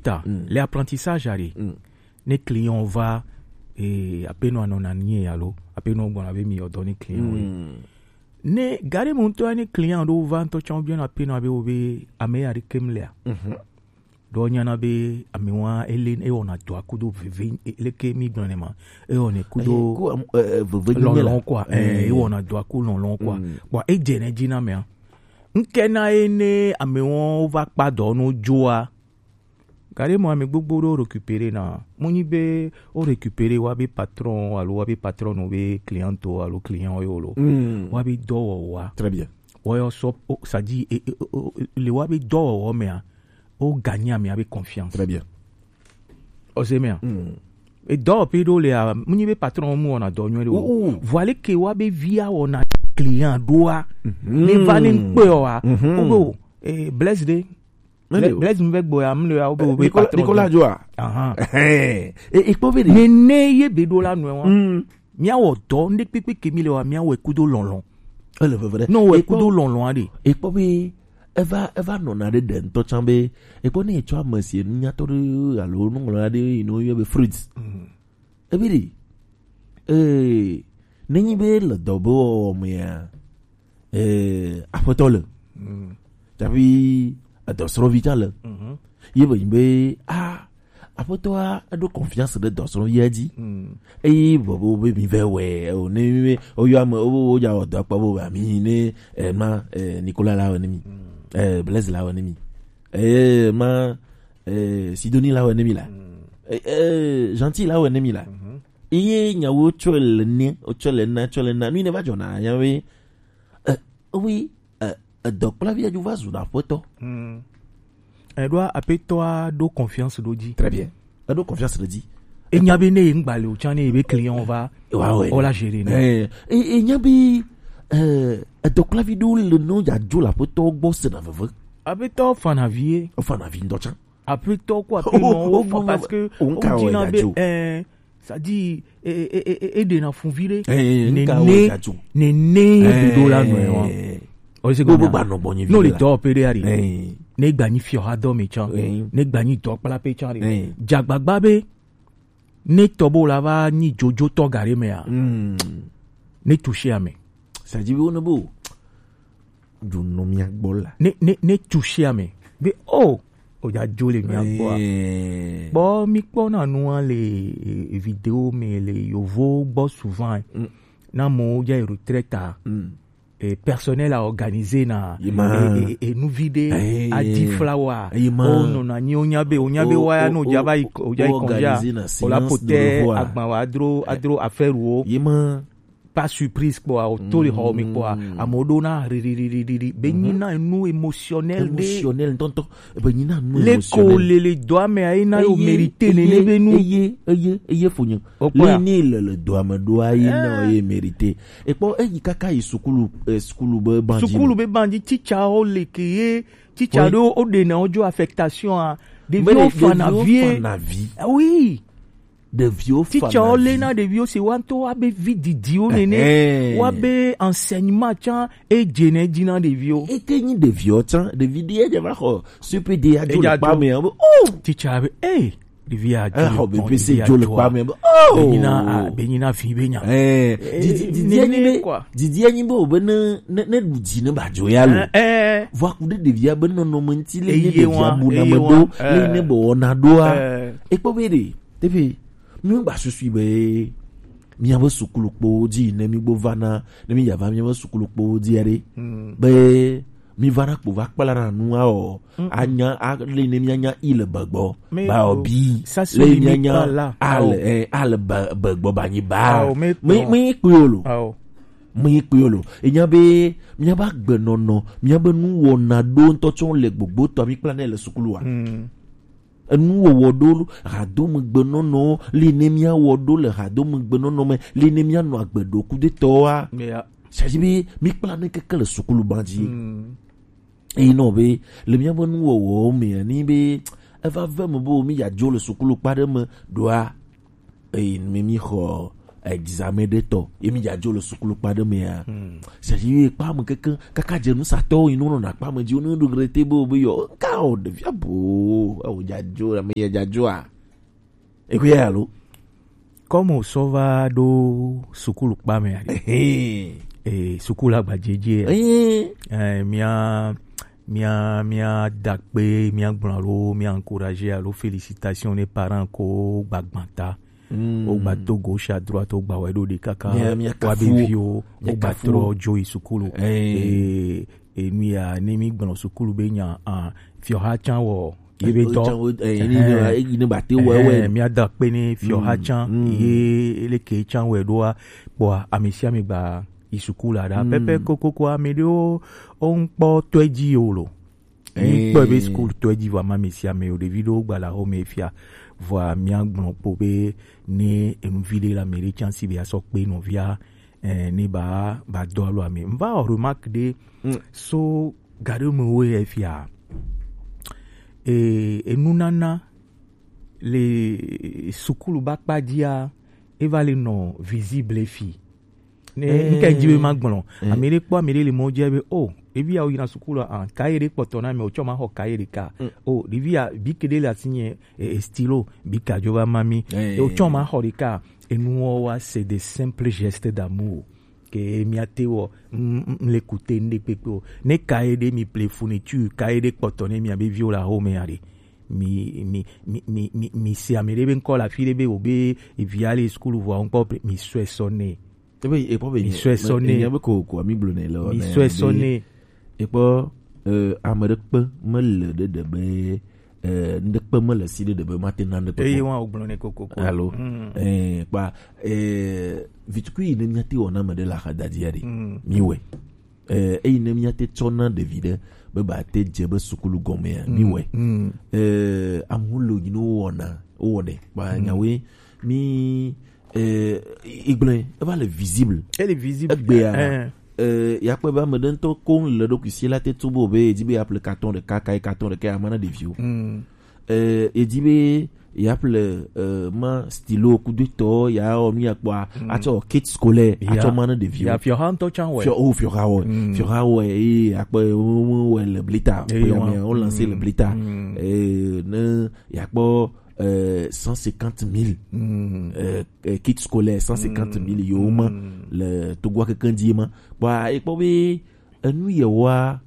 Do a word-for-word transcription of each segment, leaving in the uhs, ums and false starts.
ta, mm, le apprentissage are. Mm. Ne client va, eh, apenɔ anɔ na nie alo, apenɔ gbɔna be mi yɔ dɔ ne client. Mm. Ne gare mo ŋutɔ ne client ɖo va ŋutɔ tsã biɔ na apenɔ be wo be ame ya ɖe kem lea. Mhm. Ɖo nyana be ame wa ele ewɔna dɔa kudo veve, e-, leke mi gblɔ ne ma. Ewɔna kudo, eh, ku, am-, eh, eh, veve nyuie la. Lɔlɔ̃ quoi, eh, eh, ewɔna dɔa ku lɔlɔ̃ quoi. Mm. Bon, edze ne dzi na mea. Ŋke na ye ne ame wɔn va kpa dɔ no dzoa. Gare mo ame gbogbo ɖo récupérer na. Mo nyi be o récupérer wa be patron alo wa be patron no be client o alo client o yo lo. Mm. Wa be dɔwɔwɔa. Très bien. Wɔyɔ sɔ, o, c'est-à-dire, e, e, o, o, le wa be dɔwɔwɔ mea, o gagner amea be confiance. Très bien. O se mea. Mm. E dɔwɔƒe ɖo lea, mu nyi be patron mu wɔna dɔ nyuie ɖe o. Oh, oh. Vɔ leke wa be via wɔna client ɖoa. Mhm. Ne va ne ŋkpe oa. Mhm. O be o, eh, Blaise ɖe. Blaise mu vɛ gbɔ ya, mu le ya, o be, o be Nicolas, patron Nicolas ɖe. Joa. Ahan. Eh, e kpɔ be ɖe. Nene ye be ɖo la nɔe wa. Mm. Míawɔ dɔ, ŋɖe kpekpe ke mi le wa, míawɔe kudo lɔlɔ̃. Ele veve ɖe. Ne wòwɔe kudo lɔlɔ̃a ɖe. Ekpɔ be eva, eva nɔna ɖe ɖe ŋutɔ tsã be, ekpɔ ne etsɔ ame si enu nyatɔ ɖe alo nuŋlɔla ɖe yi ne woyɔ be Fritz. Mm. Ebi ɖi. Ee, nenyi be le dɔ be wɔwɔ mea, ee, aƒetɔ le. Mm. Tsaƒi edɔsrɔ̃vi tsã le. Mhm. Ye be nyi be, a, aƒetɔa eɖo confiance ɖe dɔsrɔ̃via dzi. Mm. Eye vɔ be, be mi vɛ wɛ o, ne mi be, woyɔ ame, wo, wo dza wɔ dɔ akpa be, ami ne, eh, ma, eh, Nicolas la wɔ ne mi. Mm. Eh, Blaise la wɔ ne mi. Eh, ma, eh, Sidonie la wɔ ne mi la. Mm. Eh, eh, Gentil la wɔ ne mi la. Mhm. Eye nyawo tsɔ le ne, tsɔ le na, tsɔ le na. Nu yi ne va dzɔna, nya be, eh, oui, eh, edɔkplavi dzo va zu na aƒetɔ. Mm. Eɖoa aƒetɔa ɖo confiance ɖo dzi. Très bien. Eɖo confiance ɖe dzi. Enya be ne ye ŋgba le o tsã ne ye be client va. Wa wɛ. O la gérer ne. Eh, e, enya be, eh, edɔkplavi ɖewo le no dza dzo le aƒetɔ gbɔ se na veve. Aƒetɔ fana vie. O fana vi ŋdɔ tsã. Aƒetɔ ko aƒenɔ wo fɔ parce que o ŋka wo dina be, eh, c'est-à-dire, e, e, e, e, e ɖena fun vi ɖe. Eh, nene, nene ɖoɖo la nɔe wa. O se gbogbo gba nɔ gbɔnyi vi. No le dɔ pe ɖe ari. Eh. Ne gba nyi fiɔ ha dɔ me tsã. Eh. Ne gba nyi dɔkpla pe tsã ɖe. Eh. Dzagbagba be, ne tɔ bo la va nyi dzodzotɔ ga ɖe mea. Mm. Ne toucher ame. C'est-à-dire, wo ne bo. Ɖu nɔ mia gbɔ la. Ne, ne, ne toucher ame. Be, oh, o dza dzo le mia gbɔa. Eh. Kpɔ mi kpɔ na nua le, e, e, vidéo me le yovo gbɔ souvent. Mm. Na mo dza retraite a. Mm. E, personnel a organiser na. Yi ma. E, e, e, nu vi ɖe. Eh. A di flower. Yi ma. O nɔ na nyi o nya be, o nya be wa ya no dza va yi, o dza yi congé a. O la pote agba wa adro, adro affaire wo. Yi ma. Pas surprise kpɔa, o to le xɔ me kpɔa, mm, amewo ɖo na ririririri, be nyi na nu émotionnel ɖe. Émotionnel ŋutɔŋutɔ, be nyi na nu émotionnel. Le ko le le dɔa me ayi na yo mérité nene be nu. Eye, eye, eye fo nye. O kpɔa. Le ne le le dɔa me ɖoa ye na ye mérité. E kpɔ eyi kaka yi sukulu, eh, sukulu be bandzi. Sukulu be bandzi, teacher wo le ke ye, teacher ɖo o ɖe na o dzo affectation a. Ɖeviwo fana vie. Fana vi. Ah oui. Ɖeviwo fana vi. Teacher wo le na ɖeviwo si wa ŋutɔ wa be vi didiwo nene. Ɛhɛn. Wa be enseignement tsã e dze ne dzi na ɖeviwo. Eke nyi ɖeviwo tsã, ɖevi ɖe edze va xɔ C P D ya dzo le kpa me, be, oh! Teacher be, eh, ɖevi ya dzo le kpa me, be, oh! Be nyina, ah, be nyina vi be nya. Eh, didi, didi enyi be, didi enyi be o be ne, ne, ne ɖu dzi ne ba dzo ya lo. Eh, eh. Vɔ aku ɖe ɖevia be nɔnɔme ŋuti le ne ɖevia bu na me ɖo, le ne be wɔna ɖoa. Eh. Ekpɔ be ɖe. Teƒe, mígba susui be míaƒe sukulukpowo dzi ne mígbo va na, ne mídza va míaƒe sukulukpowo dzia ɖe, mm, be míva na kpo va kpla na nua o, mm, mm, anya, ale ne míanya i le begbɔ, ba o bi, le míanya ale, eh, ale be-, begbɔ ba nyi ba. Mi, mi kpui o lo. Mi kpui o lo. Enya be míaƒe agbenɔnɔ, míaƒe nuwɔna ɖo ŋutɔ tsɔ le gbogbo tɔ mí kpla nɛ le sukulua. Mm. Enuwɔwɔ ɖo hadomegbenɔnɔ, li ne míawɔ ɖo le hadomegbenɔnɔ me, li ne míanɔ agbe ɖo kudetɔa. Yeah. C'est-à-dire be, mí kpla ne keke le sukulu ban dzi. Mm. Eyi nɔ be, le míaƒe nuwɔwɔwo mea, ni be, eva ve me be, mí ya dzo le sukulu kpa ɖe me ɖoa, eyi mi, mí xɔ, examen ɖe tɔ, ye mi dzadzo le sukulu kpa ɖe mea. Hmm. C'est-à-dire, ye kpa me keke, kaka dze nu satɔwo yi nu nɔna kpa me dzi, wo nu regretter be, be yɔ, ka o, ɖevia bo, awo dzadzo, ame ye dzadzoa. Ekoe ya lo. Comme o sɔ va ɖo sukulu kpa me aɖe. Ehe. E, sukulu agbadzedze. Ehe. E, mia, mia, mia dakpe, mia gblɔ alo, mia encourager alo, félicitations ne parents ko gbagbata. Mm. Wogba to gauche à droite, wogba wɛ ɖo ɖe kaka. Mia, mia wa be kafu. Viwo, mia wogba kafu. Trɔ dzo yi sukulu. Eh. E, e, nu ya, ne mi gblɔ sukulu be nya, ah, fiɔha can wɔ, ye be dɔ. Can wɔ, eh, ni, eh, ni, ni ba te wɛ, wɛ. Eh, mia da kpe ne fiɔha can, mm, ye leke can wɛ ɖoa, kpɔa, ame sia ame gba yi sukulu la ɖa. Mm. Pɛpɛ kokoko ame ɖewo, wo ŋkpɔ tɔe dzi o lo. Mi kpɔe be sukulu tɔ dzi vɔ ama ame sia ame o, ɖevi ɖewo gba le axome fia. Vɔa mia gblɔ kpo be ne enuvi ɖe le ame ɖe can si be asɔ kpe nɔvia, eh, ne ba, ba dɔ alo ame. N va wɔ remarque ɖe, mm, so ga ɖe me wo ye fia. E, enunana le sukulu ba kpa dzia, e va le nɔ visible fi. Ne, eh, nke dzi be ma gblɔ. Eh. Ame ɖe kpɔ ame ɖe le mɔ dzi be, oh, ɖevi ya wo yina sukulu a, kaye ɖe kpɔtɔ na me, o tsɔ ma xɔ kaye ɖeka. Mm. Oh, ɖevi ya, bic ɖe le asi nye, e, e, stylo, bic a dzo va ma mi. Eh. E, o tsɔ ma xɔ ɖeka. Enuwo wa, c'est des simples gestes d'amour. Ke mia te wɔ, m, m, m le kute n ɖe kpekpe o. Ne kaye ɖe mi ple fourniture, kaye ɖe kpɔtɔ ne mia be viwo le axome ya ɖe. Mi, mi, mi, mi, mi, mi se ame ɖe be ŋkɔ le afi ɖe be wo be evi ya le sukulu vɔa ŋkɔ ple, mi sɔe sɔ nɛ. Ebe, ekpɔ be mi sɔe sɔ nɛ. Nya be ko, ko mi gblɔ nɛ le. Mi sɔe sɔ nɛ. Ekpɔ, eh, ame ɖe kpe mele ɖe ɖe be, eh, ŋɖe kpe mele si ɖe ɖe be mate na ŋɖe kpe. Eye wa o gblɔ nɛ kokoko. Alo, mm, eh, kpa, eh, vitukui yi ne mia te wɔ na ame ɖe le axadadi ya ɖe. Mm. Mi wɛ. Eh, eyi ne mia te tsɔ na ɖevi ɖe be ba te dze be sukulu gɔmea, mi wɛ. Mm. Eh, amu lo yi no wɔna, wɔnɛ. Ba, mm, nyawe, mi, eh, igblẽ, eva le visible. Ele visible. Egbea, eh, eh, ya kpɔe be ame ɖe ŋutɔ koŋ le ɖokui si la te tu bo be, edzi be ya ple carton ɖeka, kayi carton ɖeka ya ma na ɖeviwo. Mm. Eh, edzi be ya ƒle, eh, ma stylo kudo tɔ ya wɔ nu ya kpɔa, mm, atsɔ kit scolaire, ya, atsɔ ma ne ɖeviwo. Ya fiɔha ŋutɔ tsã wɛ. Fiɔ-, oh, fiɔha wɛ. Mm. Fiɔha wɛ, eye akpɔ wo, wo, wo le blita. Eye pe wa. Ame wo lancer le blita. Mm. Eh, ne ya kpɔ, eh, cent cinquante mille. Mm. Eh, eh, kit scolaire cent cinquante mille, mm, yo ma, mm, le Togoa keke dzi ma. Kpɔa, ekpɔ be enu yewoa,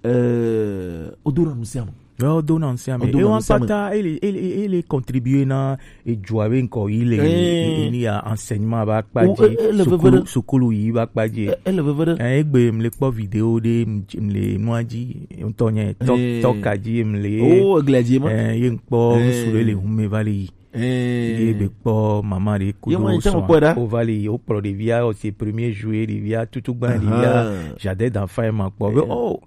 eh, wodona nu sia me. Ouais, wodona nu sia me. Wodona nu sia me. Ewa kpata, ele, ele, ele contribuer na ejoa be ŋkɔ yi le, eh, e, e, ni ya enseignement ba kpa dzi, o, e, ele veve ɖe. Sukulu, sukulu yi ba kpa dzi. E, ele veve ɖe. Eh, egbe mle kpɔ vidéo ɖe, m-, mle nua dzi, ŋutɔ nye, tɔ-, eh, tɔka dzi mle. Oh, egle dzi ma. Eh, ye ŋkpɔ, eh, ŋsu ɖe le hume va le yi. Eh. Ye be kpɔ mama ɖe kudo sɔa. Ye mo ŋutɔ kpɔ ɖa. O va le yi, o kplɔ ɖevia, o se premier jour, ɖevia, tutu gba ɖevia, jardin d'enfant ye ma kpɔ. Be, oh,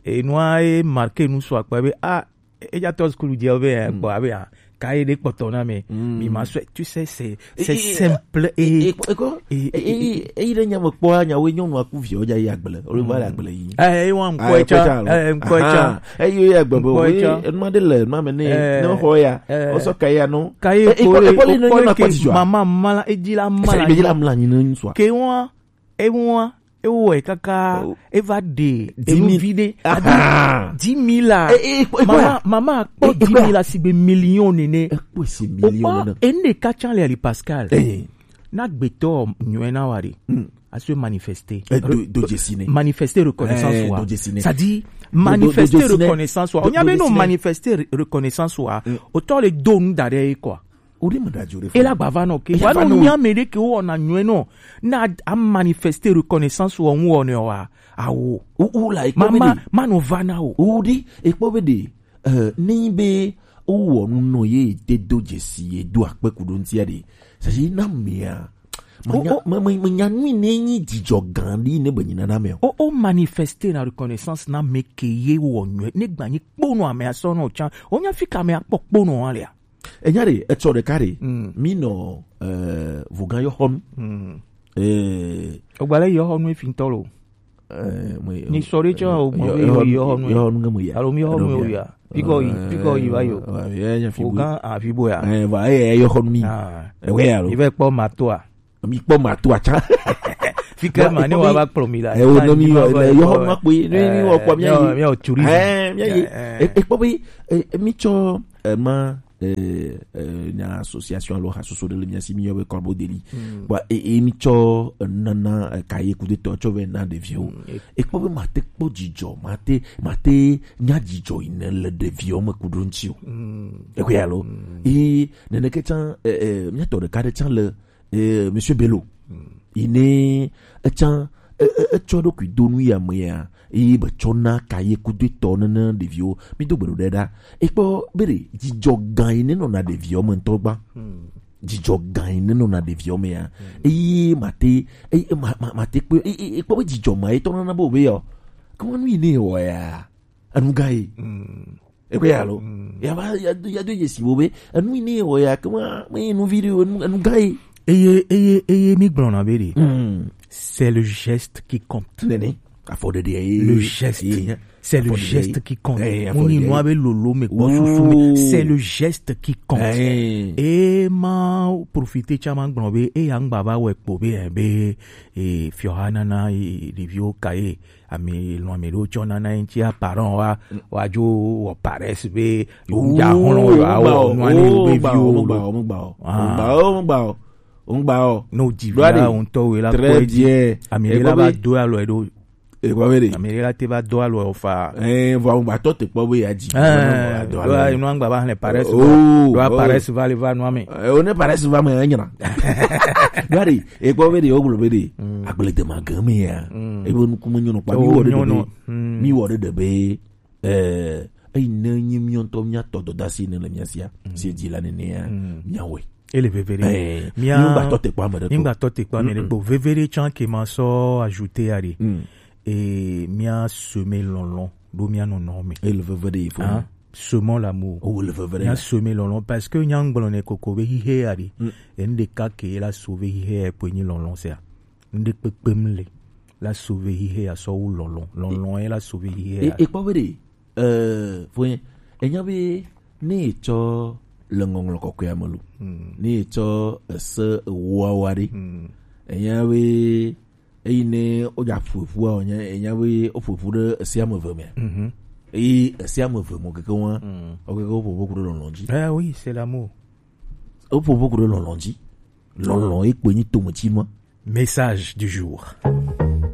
enua e marqué nu sɔ akpa be, ah, eya tɔ sukulu dze be, eh, kpɔ abe, ah, kaye ɖe kpɔtɔ na me. Mm. Mi ma sɔe, tu sais, c'est, c'est simple et, et, et, et, eyi ɖe nya me kpɔa, nyawo nyɔnu aku viwo dza yi agble. Wo va le agble yi. Eh, ewa ŋkɔ etsa, eh, ŋkɔ etsa. Eyi ya gbe be, ŋkɔ etsa. Enuma ɖe le, enuma me ne, eh, ne xɔ ya, eh, o sɔ kaye ya no. Kaye e, e, kpɔ le, e, kpɔ le, o ne kpɔ nyɔnu le akpɔ ke dzidzɔ. Mama mla, edzi la mla. Edzi la mla nyi ne ŋsua. Ke wa, ewa, ewɔe kaka, oh, eva ɖe, dix mille. Enuvi ɖe. Aha. Dix mille la. E, e, e, e, mama, mama kpɔ e, e, dix mille la sigbe million nene. E kpɔ si million nene. O kpɔ, ene katsa le ali Pascal. Eh. Na gbetɔ nyɔe na wa ɖe. Mm. Aso manifester. Eh, do, do dze si ne. Manifester reconnaissance wa. Eh, do dze si ne. C'est-à-dire, do, do, manifester do dze si ne. Reconnaissance wa. Do, o nya be do dze si ne. Manifester re-, reconnaissance wa. Mm. O tɔ le do nu da ɖe ye kɔ. O ɖe me da dzo ɖe fɔ. E la gba va nɔ ke. E la va nɔ. Wa no mi ame ɖe ke wo na nyɔe nɔ. Na a manifester reconnaissance wa ŋu wɔ ne wa. Awo. O, o la, e kpɔ be mama, ɖe. Ma no va na o. O ɖe, e kpɔ be ɖe. Eh, ne nyi be wowɔ nu nɔ ye, de do dzesi ye, do akpe ku ɖo ŋutia ɖe, sasi na mea, manya, o, o, me, me, menya nui ne nyi dzidzɔ gã ɖi ne be nyina na me o. O, o manifester na reconnaissance na me ke ye wɔ nyuie, ne gba nyi kponu ame asɔ nɔ tsa, o nya fi ka ame akpɔ kponu wa lea. Enya ɖe, etsɔ ɖeka ɖe, mm, mi nɔ, eh, vugã yɔ xɔnu. Mm. Eh. O gba le yɔ xɔnu efi ŋutɔ lo. Eh, mwe, ni sɔre tsɔ o, mwe, yɔ, yɔ, yɔ, yɔ, yɔ, nu ŋe mu ya. Alo mi yɔ nu ya. Piko yi, eh, piko yi va yo. Eh, ya, ya, fi bu. Ogan a fi bo ya. Eh, va, eh, eh, yɔ xɔ nu mi. Ah. Eh, we ya lo. I va kpɔ ma to a. mi kpɔ ma to atsa. Fika ma ne wa ba kplɔ mi la. E o ne mi yɔ le yɔ ma kpe ne mi wɔ kpɔ mi yɔ mi yɔ tourisme. Eh, mi yɔ e kpɔ be e mi tsɔ e ma eh, eh, nya association alo hasoso ɖe le mia si mi yɔ be Corbeau d'Élie. Bon, e, e mi tsɔ nana eh, cahier coup de temps tsɔ vɛ na ɖeviwo. E kpɔ be mate kpɔ dzidzɔ, mate mate nya dzidzɔ yi ne le ɖeviwo me ku ɖo ŋuti o. E ko ya lo. E nene ke tsã eh, eh, mia tɔ ɖeka ɖe tsã le eh, Monsieur Bello. Yi ne etsã e- e- etsɔ ɖokui do nu ya me ya eye be tsɔ na cahier coup de temps nene ɖeviwo. Mi do gbe ɖo ɖe ɖa. E kpɔ be ɖe dzidzɔ gã yi ne nɔna ɖeviwo me ŋutɔ gba. Dzidzɔ gã yi ne nɔna ɖeviwo me ya. Eye mate eye ma- ma- mate kpe e- e- e kpɔ be dzidzɔ ma etɔ nana be o be yɔ. Kama nu yi ne wɔ ya. Enu gã ye. Ekpe ya lo. Ya va ya do ya do ye si wo be enu yi ne wɔ ya kama me nu video enu enu gã ye. Eye eye eye mi gblɔna be ɖe. C'est le geste qui compte. Nene. Afɔ ɖeɖe ye. Le geste. C'est le geste qui compte. Mo ni nua be lolo me kpɔ susu me. C'est le geste qui compte. E ma profiter tsã ma gblɔ be e ya ŋgba va wɔ ekpo be eh, be eh, fiɔha nana eh, ɖeviwo ka ye. Ame lɔn ame ɖewo tsɔ nana ye ŋuti aparent wa wa dzo wɔ paresse be ŋdza xlɔ wa wɔ nua ne yewo be viwo lo. Ŋgba o, ŋgba o, ŋgba o, ŋgba o. Ne o dzi vi la o ŋutɔ wo la kpɔ edzi. Ame ɖe la va do alɔ ɖo. Ekpɔ be ɖe. Ame ɖe la te va do alɔ fa. Ɛɛ vɔ ŋgba tɔ te kpɔ be ya dzi. Ɛɛ do alɔ. Enu ŋgba va xlẽ paresse. Do paresse va le va nua me. O ne paresse va me enyra. Do ɖe. Ekpɔ be ɖe o gblɔ be ɖe. Agble de ma gã me ya. Ebe nuku me nyɔnɔ kpa mi wɔ ɖe ɖe be mi wɔ ɖe ɖe be eh eyi ne nyi mi ŋutɔ mi atɔ dɔdasi ne le mia sia si dzi la nene ya mi awɔe. Ele veve ɖe. Eh mi ŋgba tɔ te kpɔ ame ɖe. Mi ŋgba tɔ te kpɔ ame ɖe kpo veve ɖe tsã ke ma sɔ ajouter ya ɖe. Eh mi a semer lɔlɔ̃ ɖo mi a nɔnɔ me. Ele veve ɖe ifo. Semons l'amour. O le veve ɖe. Mi a semer lɔlɔ̃ parce que nya ŋgblɔ ne koko be hihe ya ɖe. Enu ɖeka ke la sauver hihe ya kpoe nyi lɔlɔ̃ sia. Ŋɖe kpekpe mle la sauver hihe ya sɔ wu lɔlɔ̃. Lɔlɔ̃ ye la sauver hihe ya. Ekpɔ be ɖe eh fo enya be ne etsɔ le ŋɔŋlɔ kɔkɔe me lo ne etsɔ ese ewoawa ɖe enya be eyi ne wodza ƒoƒua wònya enya be woƒoƒu ɖe esi ame eve me eyi esi ame eve me keke wa wokeke woƒoƒu ku ɖe lɔlɔ̃ dzi. Eh oui, c'est l'amour. Woƒoƒu ku ɖe lɔlɔ̃ dzi. Lɔlɔ̃ ye kpoe nyi tometsinua. Message du jour.